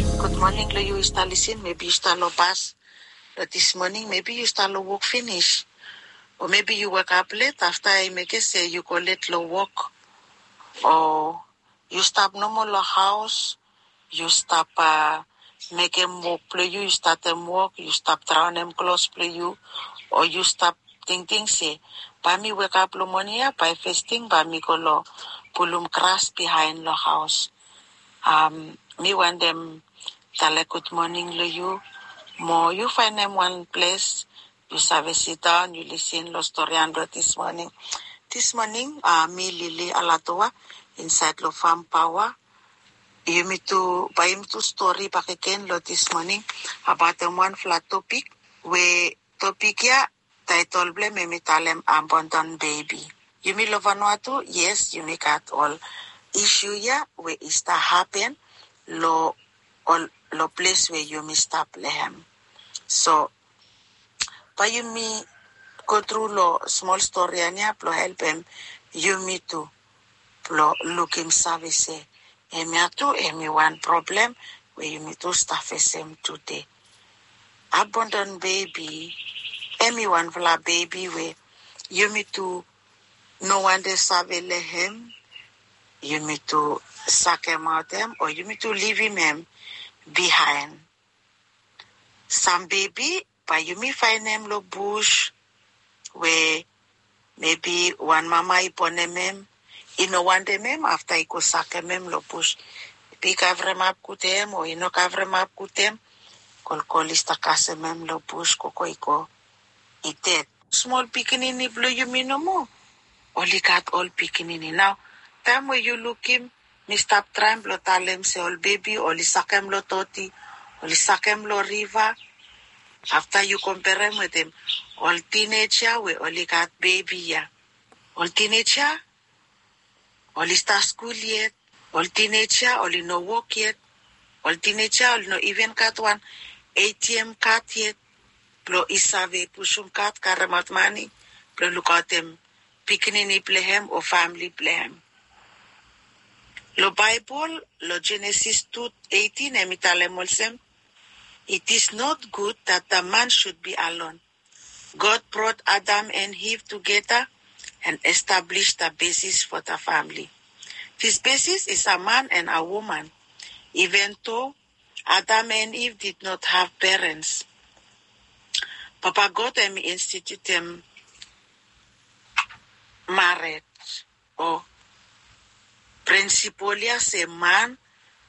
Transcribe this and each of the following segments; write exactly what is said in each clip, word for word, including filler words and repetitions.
Gud moning long yu i stap lisin, mebi yu stap long bas long dis moning, mebi yu stap long wok finis, o mebi yu wekap let afta i mekem se yu go let long wok, o yu stap nomo long haos, yu stap mekem wok blong yu, yu statem wok, yu stap draonem klos blong yu, o yu stap tingting se, bae mi wekap long moning ya, bae fes ting bae mi go long pulum gras bihaen long haos. Mi wantem talem gud moning long yu. Mo yu faenem wan ples yu save sidaon, yu lisin long storian blong dis moning. Dis moning mi Lily Alatoa, insaed long Fam Paoa. Yumi tu, bae yumi tu stori bakegen long dis moning abaotem wanfala topik, we topik ya taetol blong hem hemi talem abandon bebi. Yumi long Vanuatu, yes, yumi gat ol isu ya we i stap hapen long ol, long ples we yumi stap long hem. So bae yumi go tru long smol storian ya blong helpem yumi tu blong lukim save se hemia tu hemi wan problem we yumi tu stap fesem tude. Abandon bebi hemi wanfala bebi we yumi tu no wantem save long hem, yumi tu sakemaot hem, o yumi tu livim hem bihaen. Sam bebi bae yumi faenem long bus we mebi wan mama i bonem hem, i no wantem hem, afta i go sakem hem long bus. Mebi i kavremap gud hem o i no kavremap gud hem, kolkol i stap kasem hem long bus, gogo i go, i ded. Smol pikinini blong yumi nomo oli gat ol pikinini. Nao taem we yu lukim, mi stap traem blong talem se ol bebi oli sakem long doti, oli sakem long riva. Afta yu komperem wetem ol tineja we oli gat bebi ya. Ol tineja oli stap skul yet, ol tineja oli no wok yet, ol tineja oli no iven gat wan ATM kad yet blong i save pusum kad karemaot mane blong lukaotem pikinini blong hem o famle blong hem. Long Baebol, long Jenesis tu eitin, hemi talem olsem, "It is not good that the man should be alone. God brought Adam and Eve together and established the basis for the family. This basis is a man and a woman, even though Adam and Eve did not have parents." Papa God hemi institutem mared o prinsipol ya se man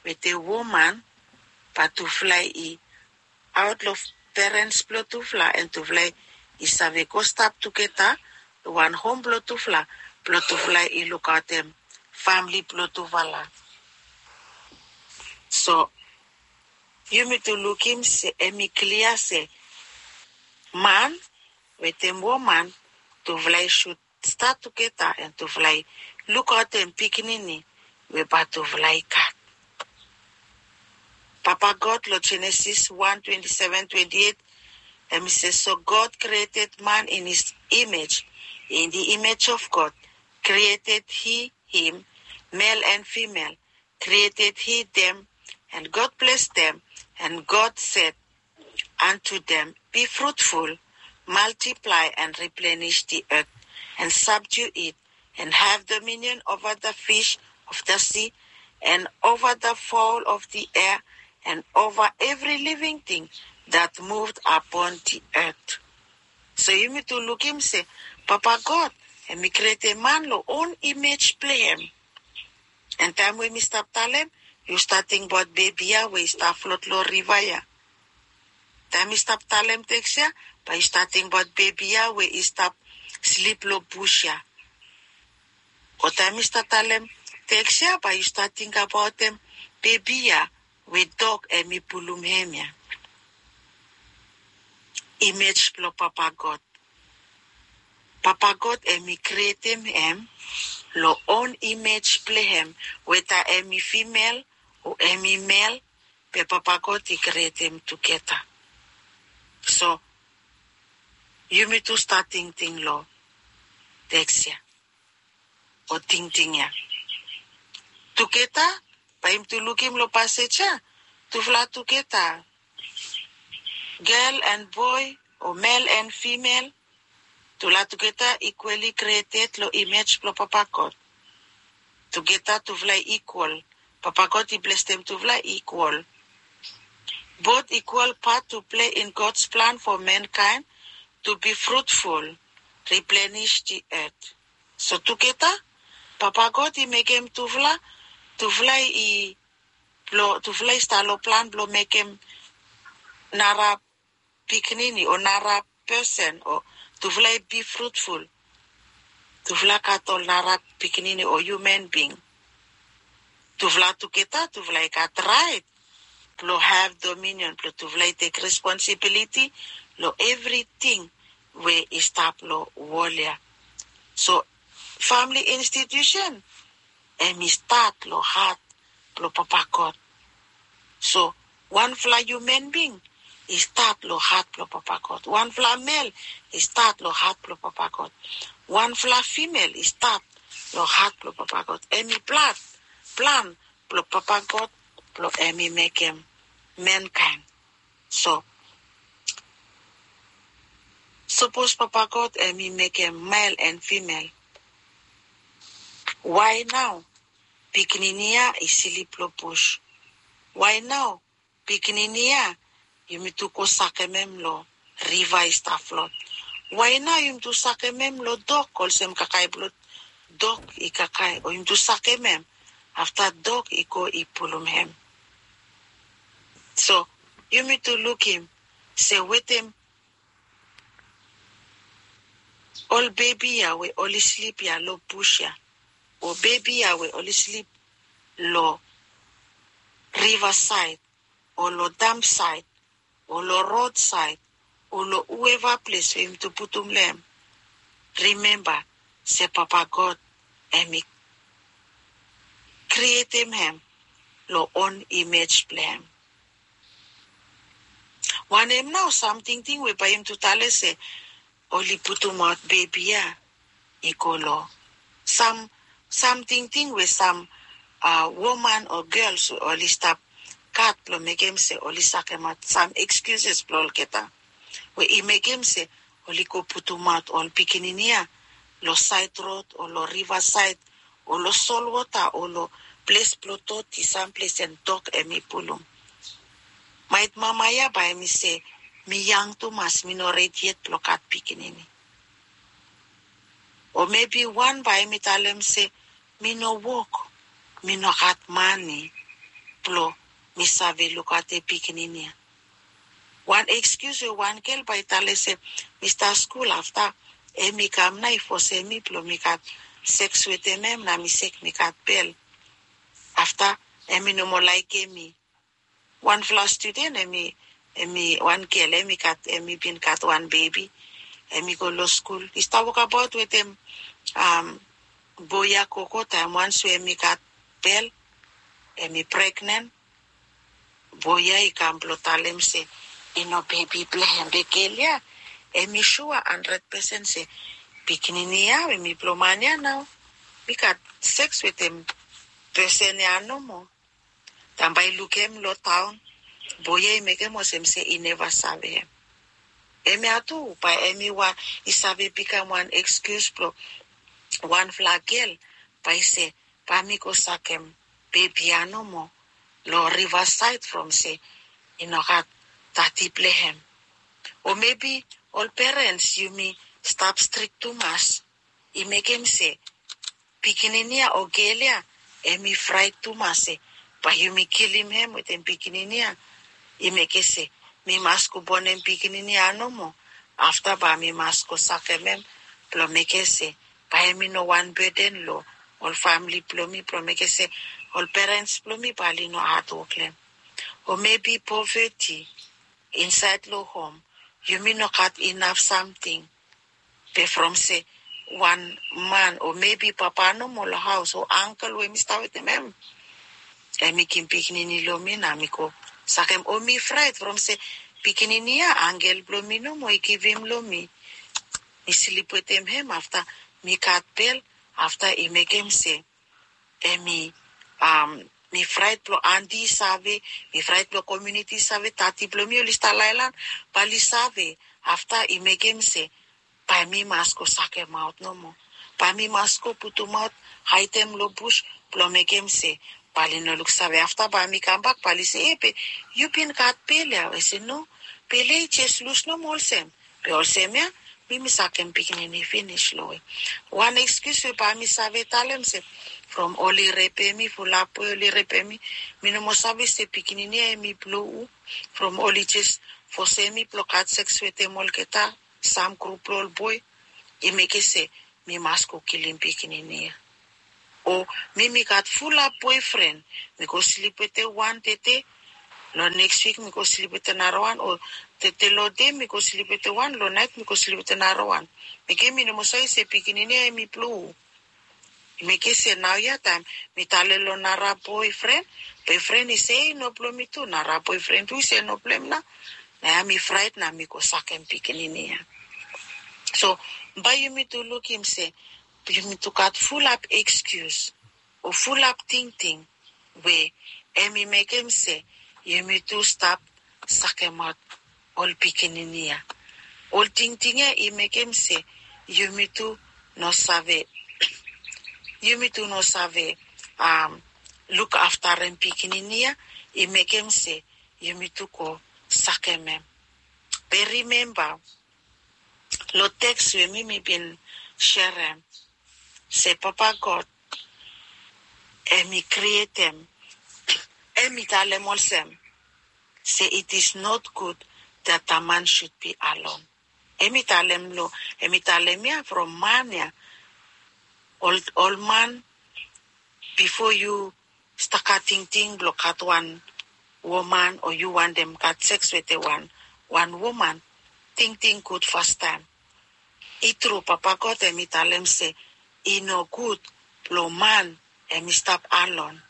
wetem woman bae tufala i aot long perens blong tufala, and tufala i save go stap tugeta long wan hom blong tufala, blong tufala i lukaotem famle blong tufala. So yumi tu lukim se hemi klia se man wetem woman, tufala i sud stap tugeta and tufala i lukaotem pikinini we bae tufala i gat. Papa God long Jenesis wan twenty seven, twenty eight, hemi se, "So God created man in his image. In the image of God created he him, male and female created he them, and God blessed them, and God said unto them, Be fruitful, multiply and replenish the earth, and subdue it, and have dominion over the fish of the sea, and over the fowl of the air, and over every living thing that moved upon the earth." So yumi tu lukim se Papa God hemi krietem man long own imej blong hem. And taem we mi stap talem, yu stap tingbaot bebi ya we i stap flot long riva ya. Taem mi stap talem teks ya, bae yu stap tingbaot bebi ya we i stap slip long bus ya. O taem mi stap talem teks ya, bae yu stap tingbaot bebi ya we dog hemi pulum hem ya. Imej blong Papa God. Papa God hemi krietem hem long own imej blong hem, weta hemi fimel o hemi mel, be Papa God i krietem tugeta. So yumi tu stap tingting long teks ya o tingting ya tugeta. Bae yumi tu lukim long pasej ya, Tufala tugeta, gel and boe o mel and fimel, tufala tugeta ikwali krieted long imej blong Papa God. Tugeta tufala i ikwal. Papa God i blesem tufala ikwal. Both ikwal pat tu plei in God's plan fo mankaen tu bi frutful, riplenish di et. So tugeta Papa God i mekem tufala, tufala i blong tufala i stap long plan blong mekem nara pikinini o nara pesen o tufala i bi frutful. Tufala gat ol nara pikinini o human being. Tufala tugeta tufala i gat raet blong have dominion blong tufala i tek responsibiliti long evriting we i stap long wol ya. So famili institusen hem i stat long hat blong Papa God. So wanfala human being i stat long hat blong Papa God. Wanfala mel i stat long hat blong Papa God. Wanfala fimel i stat long hat blong Papa God. Hem i plan, plan blong Papa God blong hem i mekem mankaen. So sapos Papa God hem i mekem mel and fimel, wae nao pikinini ya i slip long bus? Wae nao pikinini ya yumi tu go sakem hem long riva i stap flot? Wae nao yumi tu sakem hem long dok olsem kakae blong dok i kakae o yumi tu sakem hem afta dok i go i pulum hem? So yumi tu lukim se wetem ol bebi ya we oli slip ya long bus ya o bebi ya we oli slip long riva saed o long damp saed o long rod saed o long hueva ples we yumi tu putum long hem, rimemba se Papa God hem i krietem hem long on imej blong hem. Wanem nao sam tingting we bae yumi tu talem se oli putumaot bebi ya i go long sam, sam tingting we sam woman o gels we oli stap gat blong mekem se oli sakemaot sam ekskiuses blong olgeta we i mekem se oli go putumaot ol pikinini ya long saed rod o long riva saed o long solwota o long ples blong doti, sam ples and dok hem i pulum. Maet mama ya bae hem i se, mi yang tumas, mi no redi yet blong gat pikinini. O mebi wan bae hem i talem se, mi no wok, mi no gat mane blong mi save lukaotem pikinini ya. Wan ekskius we wan gel bae i talem se, mi stap skul afta hem i kam nao i fosem mi blong mi gat seks wetem hem nao mi sek mi gat bel. Afta hem i no moa laekem mi. Wanfala studen hem i, hem i wan gel hem i gat, hem i bin gat wan bebi, hem i go long skul, i stap wokabaot wetem boe ya gogo taem wans we hem i gat bel, hem i pregnen. Boe ya i kam blong talem se i no bebi blong hem, be gel ya hem i sua handred pesen se pikinini ya hem i blong man ya nao. Mi gat seks wetem pesen ya nomo. Taem bae i lukim long taon, boe ya i mekem olsem se i neva save hem. Hemia tu bae hem i wan, i save bikam wan ekskius blong wanfala gel bae i se, bae mi go sakem bebi ya nomo long riva saed from se i no gat dadi blong hem. O mebi ol perens yumi stap strik tumas, i mekem se pikinini ya o gel ya hem i fraet tumas se bae yumi kilim hem wetem pikinini ya. I mekem se mi mas go bonem pikinini ya nomo, afta bae mi mas go sakem hem blong mekem se bae hem i no wan beden long ol famle blong mi, blong mekem se ol perens blong mi bae oli no hadwok long hem. O mebi poveti insaed long hom, yumi no gat inaf samting. Be from se wan man o mebi papa nomo long haos o angkel we mi stap wetem hem, hem i givim pikinini long mi nao mi go sakem, o mi fraet from se pikinini ya angkel blong mi nomo i givim long mi. Mi slip wetem hem afta mi gat bel, afta i mekem se hem i mi fraet blong anti i save, mi fraet blong komiuniti i save tati blong mi oli stap laelan, bae oli save. Afta i mekem se bae mi mas go sakemaot nomo. Bae mi mas go putumaot, haedem long bus blong mekem se bae oli no luksave. Afta bae mi kambak bae oli se, e be yu bin gat bel ya? I se no, bel ya i jes lus nomo olsem. Be olsem ya mi mi sakem pikinini finis long we. Wan ekskius we bae mi save talem se from oli repem mi, fulap we oli repem mi, mi no moa save se pikinini ya hemi blong hu. From oli jes fosem mi blong gat seks wetem olgeta, sam grup blong ol boe, i mekem se mi mas go kilim pikinini ya. O mi mi gat fulap boefren, mi go slip wetem wan tede, long neks wik mi go slip wetem narawan, o tede long dei mi go slip wetem wan, long naet mi go slip wetem narawan. Mekem mi no moa save se pikinini ya hemi blong hu. I mekem se naoia taem mi talem long nara boefren, boefren i se i no blong mi tu, nara boefren tu i se i no blong hem nao. Naoia mi fraet nao mi go sakem pikinini ya. So bae yumi tu lukim se yumi tu gat fulap ekskius o fulap tingting we hemi mekem se yumi tu stap sakemaot ol pikinini ya. Ol tingting ya i mekem se yumi tu no save, yumi tu no save lukaftarem pikinini ya, i mekem se yumi tu go sakem hem. Be rimemba long teks we mi mi bin serem se Papa God hemi krietem, hemi talem olsem se it is not good that a man should be alone. Hemi talem long, hemi talem ya from man ya. Ol, ol man, bifo yu stap gat tingting blong gat wan woman o yu wantem gat seks wetem wan, wan woman, tingting gud fastaem. I tru, Papa God hemi talem se i no gud blong man hemi stap alon.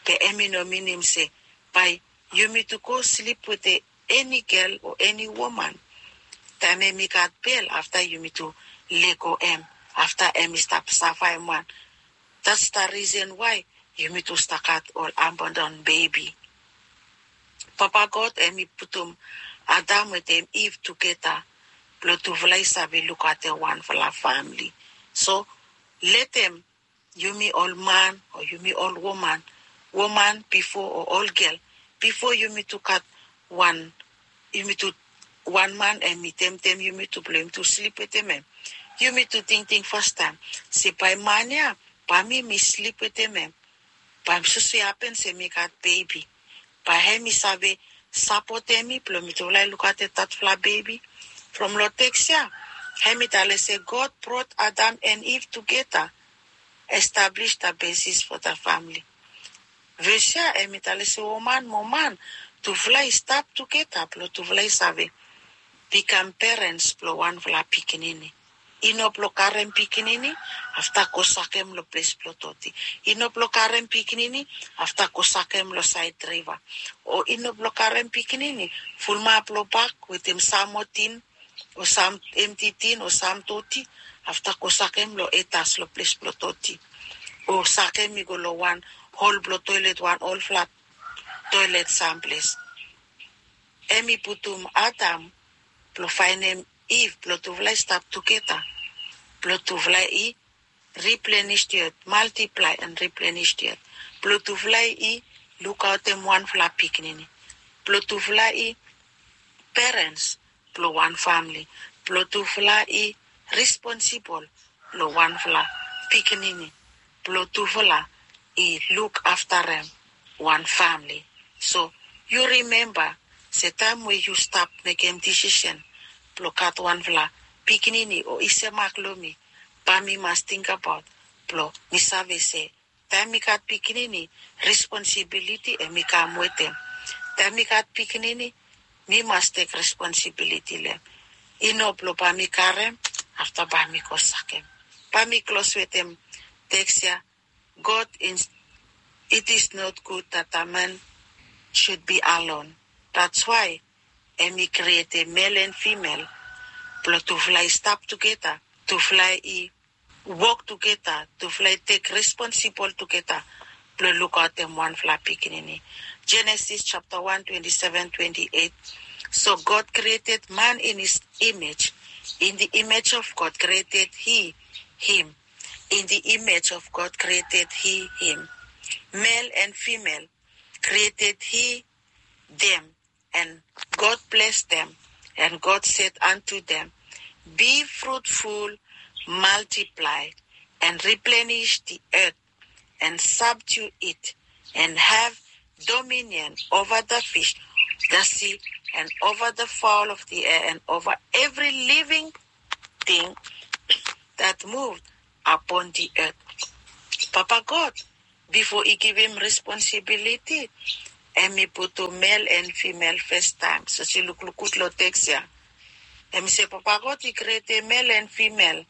Be hemi no minim se bae yumi tu go slip wetem eni gel o eni woman. Taem hemi gat bel, afta yumi tu lego hem, afta hemi stap safaem wan. That's the reason why yumi tu stap gat ol abandon bebi. Papa God hemi putum Adam wetem Iv tugeta blong tufala i save lukaotem wanfala famle. So letem yumi ol man o yumi ol woman, woman bifo o ol gel, bifo yumi tu gat wan, yumi tu, wan man hemi temtem yumi tu blong yumi tu slip wetem hem. Yumi tu tingting fastaem se bae man ya, bae mi mi slip wetem hem. Bae mi soso i hapen se mi gat bebi, bae hemi save sapotem mi blong mi tufala i lukaotem tatufala bebi. From long teks ya hemi talem se God brought Adam and Eve together, establish the basis for the family. Ves ya hemi talem se woman mo man, tufala i stap tugeta blong tufala i save bikam perens blong wanfala pikinini. I no blong karem pikinini afta go sakem long ples blong doti. I no blong karem pikinini afta go sakem long saed riva. O i no blong karem pikinini fulumap long bak wetem sam moa tin o sam emti tin o sam doti, afta go sakem long etas long ples blong doti, o sakem i go long wan hol blong toelet, wan olfala toelet samples. Hemi putum Adam blong faenem Iv blong tufala i stap tugeta, blong tufala i replenish the earth, multiply and replenish the earth, blong tufala i lukaotem wanfala pikinini, blong tufala i perens blong wan famle, blong tufala i responsibol long wanfala pikinini, blong tufala i lukaftarem wan famle. So yu rimemba se taem we yu stap mekem disisen blong gat wanfala pikinini o i semak long mi, bae mi mas tingbaot blong mi save se taem mi gat pikinini, responsibiliti hemi kam wetem. Taem mi gat pikinini, mi mas tek responsibiliti long hem. I no blong bae mi karem afta bae mi go sakem. Bae mi klos wetem teks ya. God in, it is not good that a man should be alone. That's why hemi krietem mel and fimel blong tufala i stap tugeta, tufala i wok tugeta, tufala i tek responsibol tugeta blong lukaotem wanfala pikinini. Genesis chapter one, twenty-seven, twenty-eight. So God created man in his image. In the image of God created he him. In the image of God created he him. Male and female created he them. And God blessed them. And God said unto them, be fruitful, multiply, and replenish the earth, and subdue it, and have dominion over the fish, the sea, and over the fowl of the air, and over every living thing that moved upon the earth. Papa God, bifo i givim responsibiliti, hemi putum male and female first time. So si lukluk gud long teks ya. Hemi se Papa God i krietem male and female.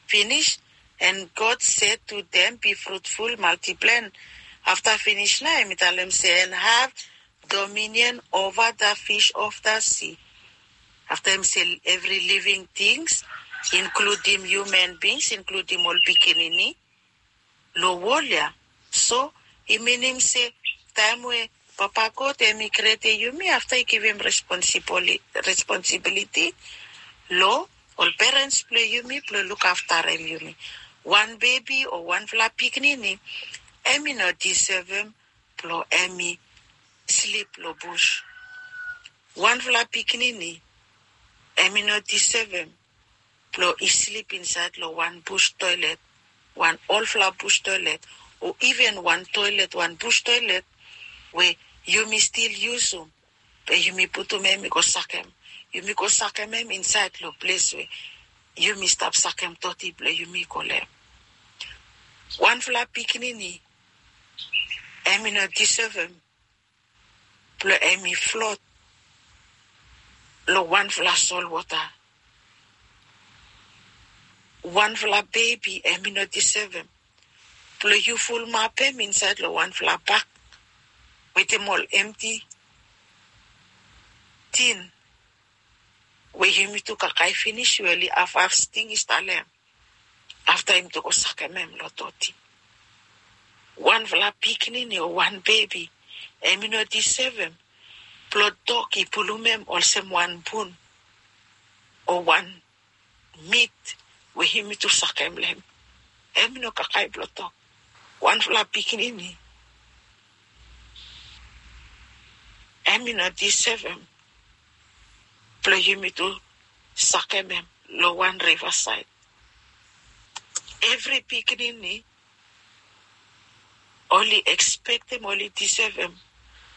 Finish. And God said to them, be fruitful, multiply. Afta finish nao hemi talem se, and have dominion over the fish of the sea. Afta hemi se every living things, inkludim human beings, inkludim ol pikinini long wol ya. So i minim se taem we Papa God hemi krietem yumi, afta i givim responsibili- responsibility long ol parents blong yumi blong lukaftarem yumi. Wan bebi o wanfala pikinini hemi no deservem blong hemi slip long bus. Wanfala pikinini hemi no deservem blong i slip insaed long wan bus toilet, wan olfala bus toilet, o iven wan toilet, wan bus toilet we yumi stil yusum, be yumi putum hem i go sakem. Yumi go sakem hem insaed long ples we yumi stap sakem doti blong yumi go long hem. Wanfala pikinini hemi no deservem blong hemi flot long wanfala solwota. Wanfala bebi hemi no deservem blong yu fulumapem insaed long wanfala bak wetem ol emti tin we yumitu kakae finis we oli hafhaf sting i stap long hem. Afta yumitu go sakem hem long doti. Wanfala pikinini o wan bebi hemi no deservem blong dog i pulum hem olsem wan bun o wan mit we yumitu sakem long hem. Hemi no kakae blong dog. Wanfala pikinini hemi no deservem blong yumitu sakem hem long wan rivasaed. Evri pikinini oli ekspektem, oli deservem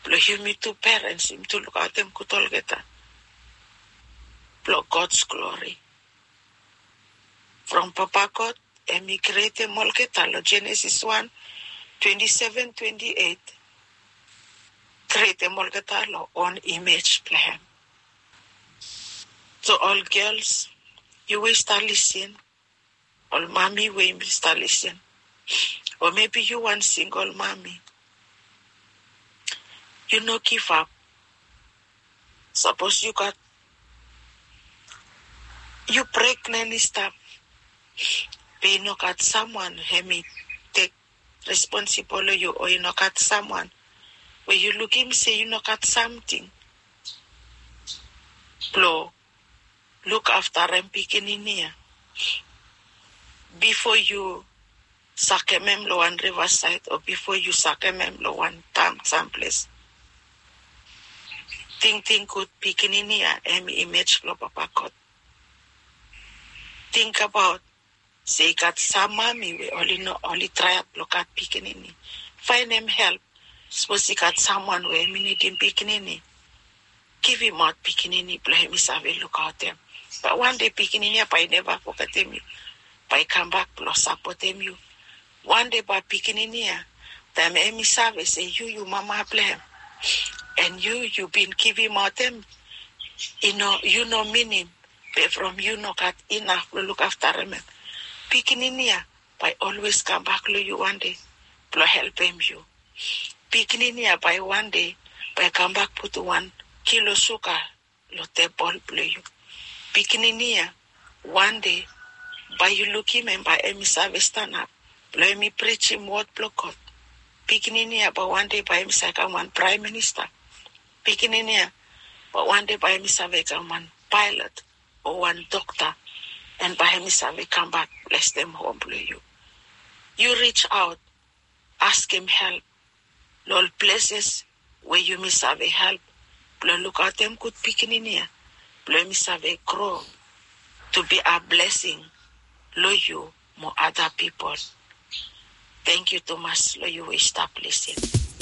blong yumitu parents yumitu lukaotem gud olgeta blong God's glory. From Papa God hemi krietem olgeta long Genesis wan, twenty-seven, twenty-eight. Krietem olgeta long own image blong hem. So ol gels, yu we yu stap lisin, ol mami we yumi stap lisin, o mebi yu wan singol mami, yu no givap. Sapos yu gat, yu pregnen i stap, be i no gat samwan hemi tek responsibol long yu, o i no gat samwan we yu lukim se yu no gat samting blong lukaftarem pikinini ya bifo yu sakem hem long wan rivasaed o bifo yu sakem hem long wan taon samples. Tingting gud, pikinini ya hemi imej blong Papa God. Tingbaot se i gat sam mami we oli no, oli traem blong gat pikinini. Faenem help sapos i gat samwan we hemi nidim pikinini. Givimaot pikinini blong hemi save lukaotem. Bae wan dei pikinini ya bae i neva fogetem yu, bae i kambak blong sapotem yu. Wan dei bae pikinini ya, taem hemi save se yu, yu mama blong hem, and yu, yu bin givimaot hem, i no, yu no minim, be from yu no gat inaf blong lukaftarem hem, pikinini ya bae i olwes kambak long yu wan dei blong helpem yu. Pikinini ya bae wan dei bae i kambak putum wan kilo suga long tebol blong yu. Pikinini ya, wan dei bae yu lukim hem bae hemi save stanap blong hemi prijim wod blong God. Pikinini ya bae wan dei bae hem i save kam wan praem minista. Pikinini ya bae wan dei bae hem i save kam wan paelot o wan dokta, and bae hem i save kambak blesem hom blong yu. Yu ris aot, askem help long ol pleses we yumi save help blong lukaotem gud pikinini ya blong hem i save gro to be a blesing long yu mo ada pipol. Tangkiu tumas long yu we i stap lisin.